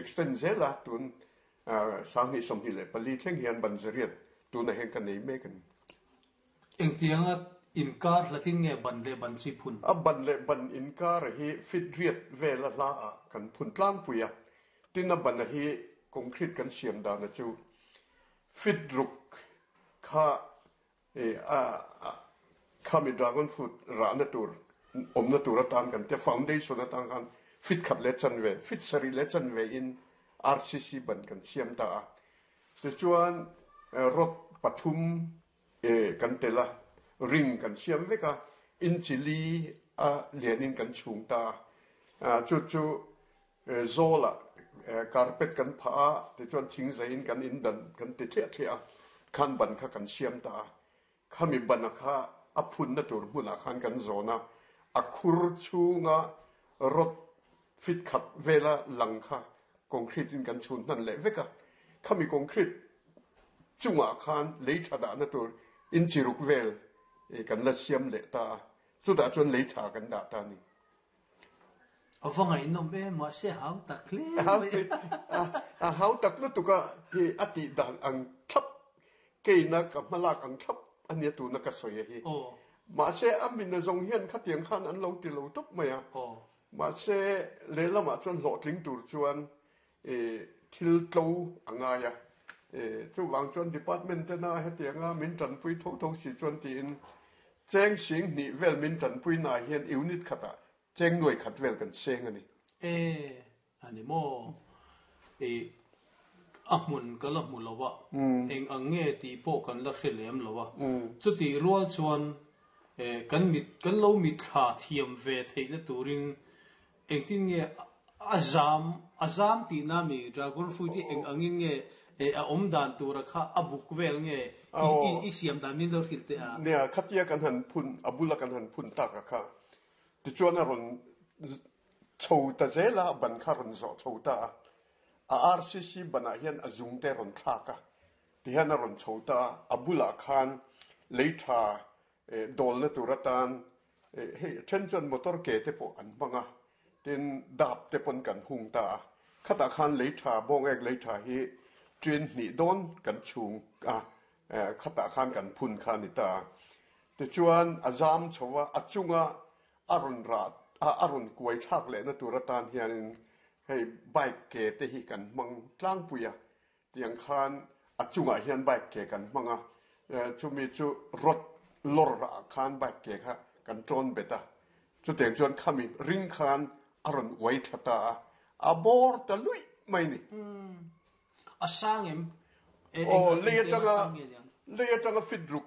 extend zel a, tun 2024 thleng hian ban zariat tunah hian ka nei mek a ni. Engtianga inkar hlatin nge ban leh ban chi phun? A ban leh ban inkar hi fit riat vela hla ah kan phun tlangpui a, tin a ban a hi concrete kan siam dana chu fit ruk kha Khami dragon fruit rahna tur awmna tur atan kan tia foundation atang khan fit khat leh chanve, fit sarih leh chanve in RCC ban kan siam ta a. Tichuan rod pathum kan tel a, ring kan siam vek a, inchi li a lianin kan chhung ta a. Chu chu Zawlah carpet kan phah a, tichuan thingzaiin kan in dan kan ti thliah thliah a, khan ban kha kan siam ta a. Khami bana kha a phunna tur hmunah khan kan zawn a, a khur chhunga rod fit khat vela lang kha concrete in kan chhun hnan leh vek a. Khami concrete chungah khan lei tha dahna tur inchi ruk vel kan la siam leh ta a, chutah chuan lei tha kan dah ta a ni. A va ngaihnawm em, mahse a hau tak hle mai. A hau tak lutuk a, hi a tih dan ang thlap, keina ka hmalak ang thlap a nia tuna ka sawi a hi. Mahse a min a zawng hian khatiang khan an lo ti lo tawp mai a. Mahse lehlamah chuan hlawhtling tur chuan thil tlo a ngai a. Chuvang chuan department tena hetianga min tanpui tho tho si chuan tiin cheng sing hnih vel min tanpuinaah hian unit khatah cheng nuai khat vel kan seng a ni. E, a ni maw? I a hmun ka la hmu lo a, eng ang nge tih pawh kan la hre lem lo a. Chutih rual chuan kan mit kan lo mitthla thiam ve theihna turin Engtin nge a zam a zam tihna mi dragon fruit hi eng angin nge a awm dan tura kha a buk vel nge i siam dan min lo hrilh teh a. Nia, khatia kan han phun, a bula kan han phun tak a kha. Tichuan a rawn chho ta zel a, a ban kha a rawn zawh chho ta a. A RCC banah hian a zung te a rawn thlak a, tihian a rawn chho ta a, a bulah khan lei tha dawlna tur atan Hei a then chuan motor ke te pawh an hmang a, tin dap te pawn kan hung ta a. Khatah khan lei tha, bawngek lei tha hi train hnih dawn kan chhung a, khatah khan kan phun kha a ni ta a. Tichuan a zam chho a, a chunga a rawn rah a, a rawn kuai thlak lehna tur atan hianin hei bike ke te hi kan hmang tlangpui a. Tiang khan a chungah hian bike ke kan hmang a, chumi chu rod lawr ah khan bike ke kha kan tawn bet a, chutiang chuan khami ring khan a rawn uai thla ta a, a bawr ta luih mai ni. A sang em? Aw, lei atanga lei atanga fit ruk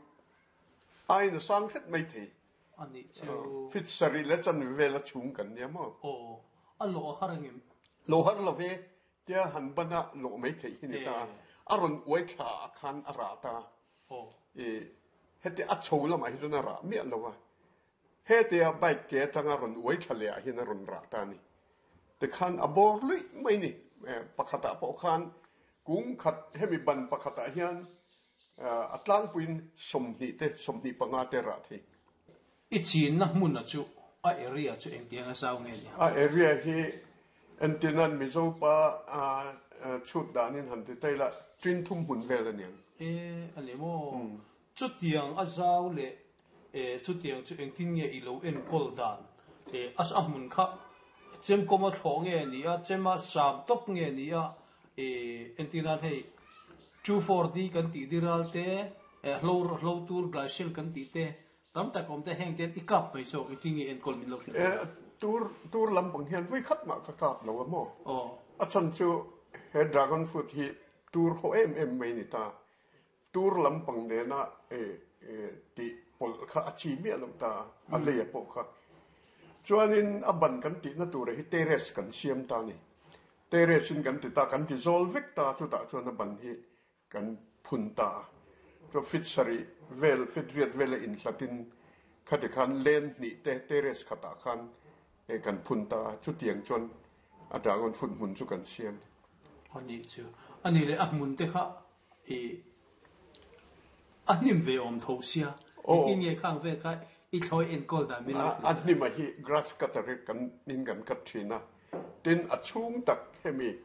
aiin a sang hret mai thei. A nih chu. Fit sarih leh chanve vel a chhung kan nia maw? Aw, a lawh a har angem? Lawh har lo ve, Tia han ban a lawh mai theih hi ni ta a, a rawn uai thla ah khan a rah ta a. I heti a chho lamah hi chuan a rah miah lo a, hetia bike ke atanga rawn uai thla leh ah hian a rawn rah ta a ni. Tikhan a bawr luih mai ni. Pakhatah pawh khan kung khat hemi ban pakhatah hian A tlangpuiin 20 te, 25 te rah thei. I chinna hmuna chu a area chu engtiang a zau nge ni? A area hi entirnan Mizo pa chhut danin han ti ta ila tin thum hmun vel a niang. E, a ni maw? Chutiang a zau leh chutiang chu engtin nge i lo enkawl dan? A hmun kha chemkawm a thlawh nge ni a, chema sam tawp nge ni a, Entirnan hei 2,4-D kan tih diral te, hlo hlo tur glycel kan tih te tam tak awm te heng te i kap mai zawk engtin nge enkawl min lo hrilh thei? Tur tur lampang hian vui khat mah ka kap lo a maw? A chhan chu he dragon fruit hi tur haw em em mai ni ta. Tur lampang nena tih pawlh kha a chi miah lo ta a, a leia pawh kha. Chuanin a ban kan tihna tura hi terrace kan siam ta a ni. Terrace in kan ti ta, kan ti zawl vek ta, chutah chuan a ban hi kan phun ta a. Chuan fit sarih vel, fit riat vela inhlatin khati khan len hnih te terrace khatah khan kan phun ta a, chutiang chuan a dragon fruit hmun chu kan siam. A nih chu. A nih leh a hmun te kha I a hnim ve awm tho sia, engtin nge khang vel kha i thlawi enkawl dan min lo hrilh A hnim a hi grass cutter hi kan in kan cut thin a, tin a chhung tak hemi.